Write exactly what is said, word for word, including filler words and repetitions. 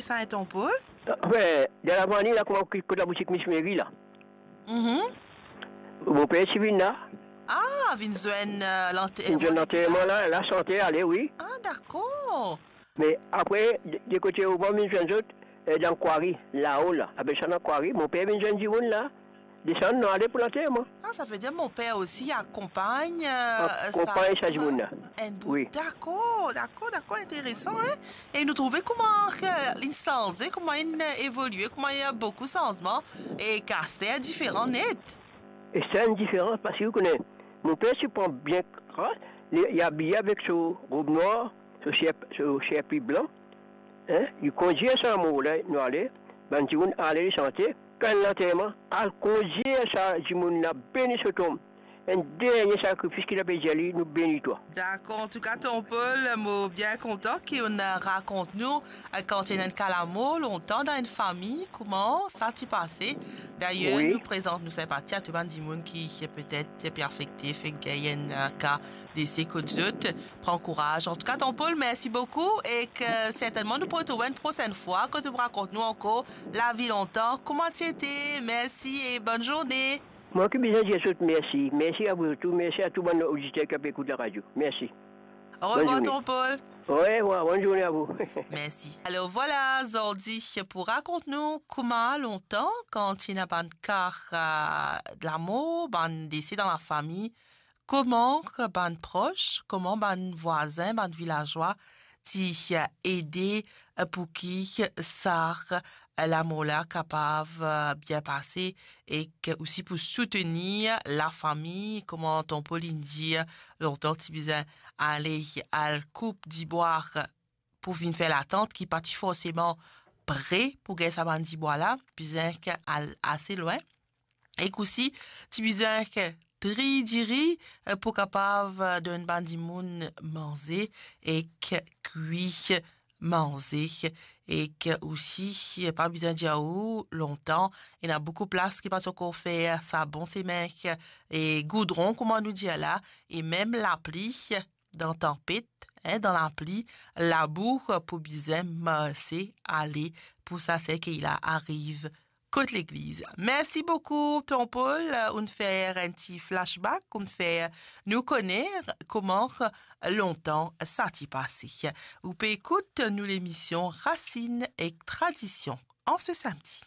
Sa, Ton Paul? Anfin, dan lavani la, kouma ki kot laboutik Miss Mary la. Mhm. Mo per ti vinn la. Ah, vinn zwenn, euh, lante-, Vinn zwenn lanterman la, la sante ale, wi. Ah, dakor. Me apre, de, de kote Oban vinn zwenn zot, eh, dan kwari, lao la, apel sa dan kwari, mo per vinn zwenn dimoun la. Desann, nou ale pou lanterman. Ah, sa ve dir mo per osi akonpagn, euh, Akonpagn sa, sa dimoun la. Enn bout. Wi. Dakor, dakor, dakor, interesan, hein? E nou trouve kouma ke li sanze, kouma li evolie, kouma li ena boukou sanzman, e ki aster diferan net. E sa enn diferans, parski ou kone, mo per ti pran bien kras, li, li abiye avek so rob nwar, so ser, so serpi blan, hein, li kondir sa mo la, nou ale, bann dimoun ale, li sante, kan lanterman, al kondir sa dimoun la, beni so tonm. Enn dernie sakrifis ki li pe dir li, nou beni twa. Dakor, antouka, Ton Paul, mo bien kontan ki ou'nn rakont nou, eh, kan ti ena enn ka lamor lontan dan enn fami, kouma sa ti pase. Dayer, Wi. nou prezant nou sinpati a tou bann dimoun ki, ki petet pe afekte, fek gagn enn, eh, ka dese kot zot. Pran kouraz. Antouka, Ton Paul, mersi boukou e ki sertennman nou pou retrouv enn prosenn fwa, kot ou pou rakont nou ankor lavi lontan, kouma ti ete. Mersi e bonn zourne. Mwa ki bizin dir zot mersi. Mersi a zot tou. Mersi a tou bann oditer ki pe ekout laradio. Mersi. Orevwar, Ton Paul. Orevwar, bonn zourne a vou. Mersi. Alor vwala, zordi pou rakont nou kouma lontan, kan ti ena bann ka, eh, lamor, bann dese dan lafami, kouma bann pros, kouma bann vwazin, bann vilazwa ti, eh, ede, eh, pou ki sa, eh, lamor la kapav, eh, bien pase, e ki osi pou soutenir lafami, kouma Ton Paul inn dir, lontan ti bizin ale al koup dibwa pou vinn fer latant, ki pa ti forseman pre pou gagn sa bann dibwa la, bizin ki al ase lwin. Ek osi, ti bizin ki tri diri, eh, pou kapav, eh, donn bann dimoun manze ek kwi manze. Ek osi, pa bizin dir ou, lontan, ena boukou plas ki pa ti ankor fer sa bon semin e goudron, kouma nou dir la, e mem lapli, dan tanpet, hein, dan lapli, labou pou bizin marse ale pou sa serkey la ariv kot legliz. Mersi boukou, Ton Paul, ou'nn fer enn ti flashback, ou'nn fer nou kone kouma lontan sa ti pase. Ou pe ekout nou lemision Rasinn ek Tradision an se samdi.